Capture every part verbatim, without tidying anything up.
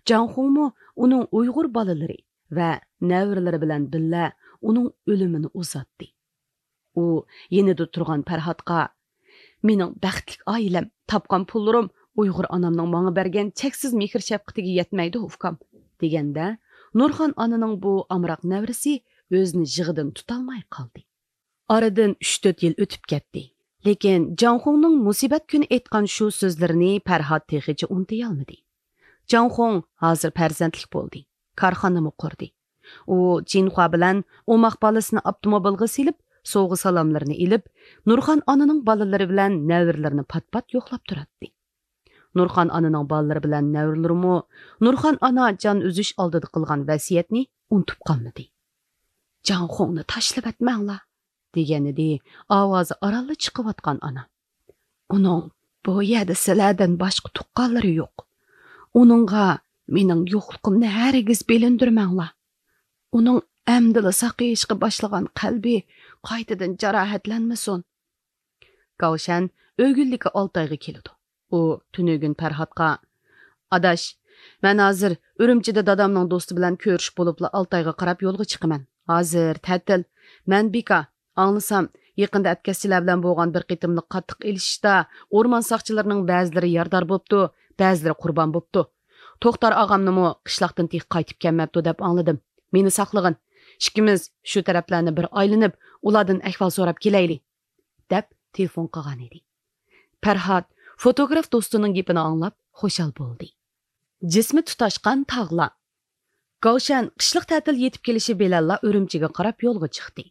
جاڭخۇڭمۇ ئۇنىڭ ئۇيغۇر بالىلىرى ۋە نەۋرىلىرى بىلەن بىللە ئۇنىڭ ئۆلۈمىنى ئۇزاتتى. ئۇ يېنىدا تۇرغان پەرھاتقا، «مېنىڭ بەختلىك ئائىلەم، تاپقان پۇللىرىم ئۇيغۇر ئانامنىڭ ماڭا بەرگەن چەكسىز مېھىر-شەپقىتىگە يەتمەيدۇ، ئۇكام» دېگەندە، نۇرخان ئانىنىڭ بۇ ئامراق نەۋرىسى ئۆزىنى يىغىدىن تۇتالماي قالدى. ئارىدىن ئۈچ-تۆت يىل ئۆتۈپ كەتتى. لېكىن جاڭخۇڭنىڭ مۇسىبەت كۈنى ئېيتقان شۇ سۆزلىرىنى پەرھات تېخىچە ئۇنتۇيالمىدى. جاڭخۇڭ ھازىر پەرزەنتلىك بولدى. كارخانىمۇ قۇردى. ئۇ جىنخۇا بىلەن ئوماق بالىسىنى ئاپتوموبىلغا سېلىپ، سوۋغا-سالاملىرىنى ئېلىپ، نۇرخان ئانىنىڭ بالىلىرى بىلەن نەۋرىلىرىنى پات-پات يوقلاپ تۇراتتى. نۇرخان ئانىنىڭ بالىلىرى بىلەن نەۋرىلىرىمۇ نۇرخان ئانا جان ئۈزۈش ئالدىدا قىلغان ۋەسىيەتنى ئۇنتۇپ قالمىدى. «جاڭخۇڭنى تاشلىۋەتمەڭلار» دېگەنىدى ئاۋازى ئارانلا چىقىۋاتقان ئانا. «ئۇنىڭ بۇ يەردە سىلەردىن باشقا تۇغقانلىرى يوق. ئۇنىڭغا مېنىڭ يوقلۇقۇمنى ھەرگىز بىلىندۈرمەڭلار. ئۇنىڭ ئەمدىلا ساقىيىشقا باشلىغان قەلبى قايتىدىن جاراھەتلەنمىسۇن.» گاۋشەن ئۆگۈنلۈككە ئالتايغا كېلىدۇ. ئۇ تۈنۈگۈن پەرھاتقا، «ئاداش، مەن ھازىر ئۈرۈمچىدە دادامنىڭ دوستى بىلەن كۆرۈشۈپ بولۇپلا ئالتايغا قاراپ يولغا چىقىمەن. ھازىر تەتىل. مەن بىكار. ئاڭلىسام، يېقىندا ئەتكەسچىلەر بىلەن بولغان بىر قېتىملىق قاتتىق ئېلىشىشتا ئورمان ساقچىلىرىنىڭ بەزىلىرى يارىدار بوپتۇ، بەزىلىرى قۇربان بوپتۇ. توختار ئاغامنىمۇ قىشلاقتىن تېخى قايتىپ كەلمەپتۇ دەپ ئاڭلىدىم. مېنى ساقلىغىن. ئىككىمىز شۇ تەرەپلەرنى بىر ئايلىنىپ، ئۇلاردىن ئەھۋال سوراپ كېلەيلى.» دەپ تېلېفون قىلغانىدى. پەرھات فوتوگراف دوستىنىڭ گېپىنى ئاڭلاپ خۇشال بولدى. جىسمى تۇتاشقان تاغلار. گاۋشەن قىشلىق تەتىل يېتىپ كېلىشى بىلەنلا ئۈرۈمچىگە قاراپ يولغا چىقتى.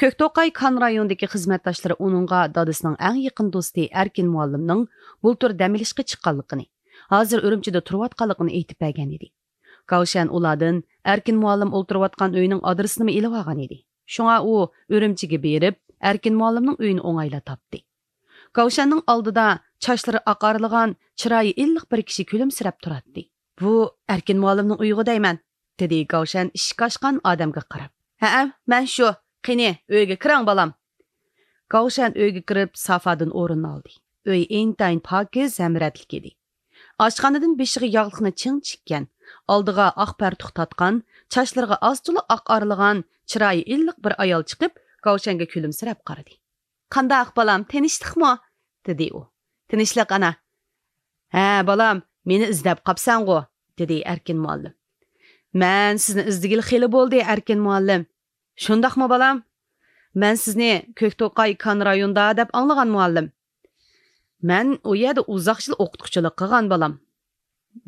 كۆكتوقاي كان رايونىدىكى خىزمەتداشلىرى ئۇنىڭغا دادىسىنىڭ ئەڭ يېقىن دوستى ئەركىن مۇئەللىمنىڭ بۇلتۇر دەم ئېلىشقا چىققانلىقىنى، ھازىر ئۈرۈمچىدە تۇرۇۋاتقانلىقىنى ئېيتىپ بەرگەن ئىدى. گاۋشەن ئۇلاردىن ئەركىن مۇئەللىم ئولتۇرۇۋاتقان ئۆينىڭ ئادرېسىنىمۇ ئېلىۋالغان ئىدى. شۇڭا ئۇ ئۈرۈمچىگە بېرىپ، ئەركىن مۇئەللىمنىڭ ئۆيىنى ئوڭايلا تاپتى. گاۋشەننىڭ ئالدىدا چاچلىرى ئاق ئارىلىغان، چىرايى ئىللىق بىر كىشى كۈلۈمسىرەپ تۇراتتى. «بۇ ئەركىن مۇئەللىمنىڭ ئۆيىغۇ دەيمەن»، دېدى گاۋشەن ئىشىك ئاچقان ئادەمگە قاراپ. «ھەئە، مەن شۇ. قېنى، ئۆيگە كىرىڭ، بالام.» گاۋشەن ئۆيگە كىرىپ، سافادىن ئورۇن ئالدى. ئۆي ئىنتايىن پاكىز ھەم رەتلىك ئىدى. ئاشخانىدىن بېشىغا ياغلىقنى چىڭ چىككەن، ئالدىغا ئاق پەرتۇق تارتقان، چاچلىرىغا ئاز-تولا ئاق ئارىلىغان، چىرايى ئىللىق بىر ئايال چىقىپ، گاۋشەنگە كۈلۈمسىرەپ قارىدى. «قانداق، بالام، تېنىشتۇقمۇ؟» دېدى ئۇ. «تىنچلىق، ئانا.» «ھە، بالام، مېنى ئىزدەپ قاپسەنغۇ؟» دېدى ئەركىن مۇئەللىم. «مەن سىزنى ئىزدىگىلى خېلى بولدى، ئەركىن مۇئەللىم.» «شۇنداقمۇ، بالام؟ مەن سىزنى كۆكتوقاي كان رايونىدا دەپ ئاڭلىغان، مۇئەللىم.» «مەن ئۇ يەردە ئۇزاق يىل ئوقۇتقۇچىلىق قىلغان، بالام.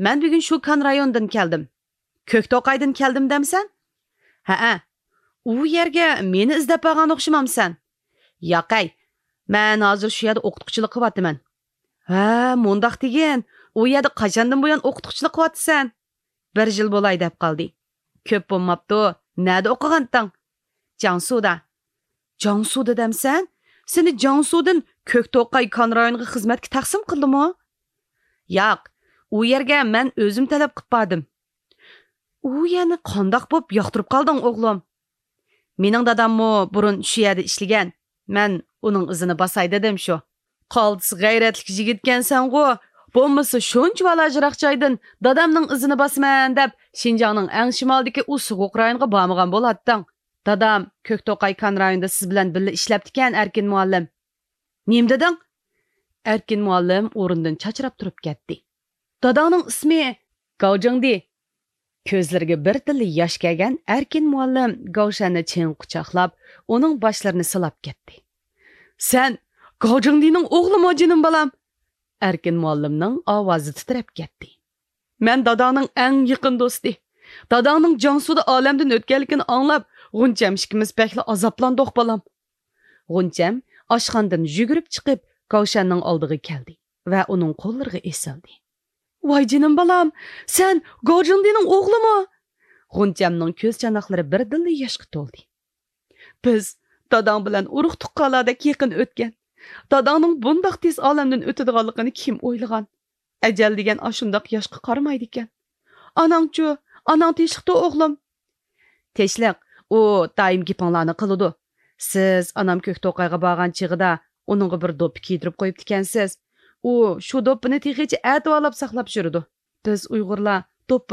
مەن بۈگۈن شۇ كان رايونىدىن كەلدىم.» «كۆكتوقايدىن كەلدىم دەمسەن؟» «ھەئە.» «ئۇ يەرگە مېنى ئىزدەپ بارغان ئوخشىمامسەن؟» «ياقەي، مەن ھازىر شۇ يەردە ئوقۇتقۇچىلىق قىلىۋاتىمەن.» «ھە، مۇنداق دېگىن، ئۇ يەردە قاچاندىن بۇيان ئوقۇتقۇچىلىق قىلىۋاتىسەن؟» «بىر يىل بولاي دەپ قالدى.» «كۆپ بولماپتۇ. نەدە ئوقۇغانتىڭ؟» «جياڭسۇدا.» «جياڭسۇدا دەمسەن؟ سېنى جياڭسۇدىن كۆكتوقاي كان رايونىغا خىزمەتكە تەقسىم قىلدىمۇ؟» «ياق، ئۇ يەرگە مەن ئۆزۈم تەلەپ قىلىپ باردىم.» «ئۇ يەرنى قانداق بوپ ياقتۇرۇپ قالدىڭ، ئوغلۇم؟» «مېنىڭ داداممۇ بۇرۇن شۇ يەردە ئىشلىگەن. مەن ئۇنىڭ ئىزىنى باساي دېدىم شۇ.» «قالتىس غەيرەتلىك يىگىتكەنسەنغۇ! بولمىسا شۇنچە بالاجىراق جايدىن دادامنىڭ ئىزىنى باسىمەن دەپ، شىنجاڭنىڭ ئەڭ شىمالىدىكى ئۇ سوغۇق رايونغا بارمىغان بولاتتىڭ. دادام كۆكتوقاي كان رايونىدا سىز بىلەن بىللە ئىشلەپتىكەن، ئەركىن مۇئەللىم.» «نېمە دېدىڭ؟» ئەركىن مۇئەللىم ئورنىدىن چاچراپ تۇرۇپ كەتتى. «داداڭنىڭ ئىسمى گاۋجىڭدى.» كۆزلىرىگە بىردىنلا ياش كەلگەن ئەركىن مۇئەللىم گاۋشەننى چىڭ قۇچاقلاپ، ئۇنىڭ باشلىرىنى سىلاپ كەتتى. «سەن گاۋجىڭدىنىڭ ئوغلىمۇ، جېنىم بالام؟» ئەركىن مۇئەللىمنىڭ ئاۋازى تىترەپ كەتتى. «مەن داداڭنىڭ ئەڭ يېقىن دوستى. داداڭنىڭ جياڭسۇدا ئالەمدىن ئۆتكەنلىكىنى ئاڭلاپ، غۇنچەم ئىككىمىز بەكلا ئازابلاندۇق، بالام.» غۇنچەم ئاشخانىدىن يۈگۈرۈپ چىقىپ، گاۋشەننىڭ ئالدىغا كەلدى ۋە ئۇنىڭ قوللىرىغا ئېسىلدى. «ۋاي جېنىم بالام، سەن گاۋجىڭدىنىڭ ئوغلىمۇ؟» غۇنچەمنىڭ كۆز چاناقلىرى بىردىنلا ياشقا تولدى. «بىز داداڭ بىلەن ئۇرۇق-تۇغقانلاردەك يېقىن ئۆتكەن. داداڭنىڭ بۇنداق تېز ئالەمدىن ئۆتىدىغانلىقىنى كىم ئويلىغان؟ ئەجەل دېگەن ئاشۇنداق ياشقا قارىمايدىكەن. ئاناڭچۇ؟ ئاناڭ تىنچلىقتا، ئوغلۇم؟» «تىنچلىق، ئۇ دائىم گېپىڭلارنى قىلىدۇ. سىز ئانام كۆكتوقايغا بارغان چېغىدا ئۇنىڭغا بىر دوپپا كىيدۈرۈپ قويۇپتىكەنسىز. ئۇ شۇ دوپپىنى تېخىچە ئەتىۋارلاپ ساقلاپ يۈرىدۇ. بىز ئۇيغۇرلار دوپپا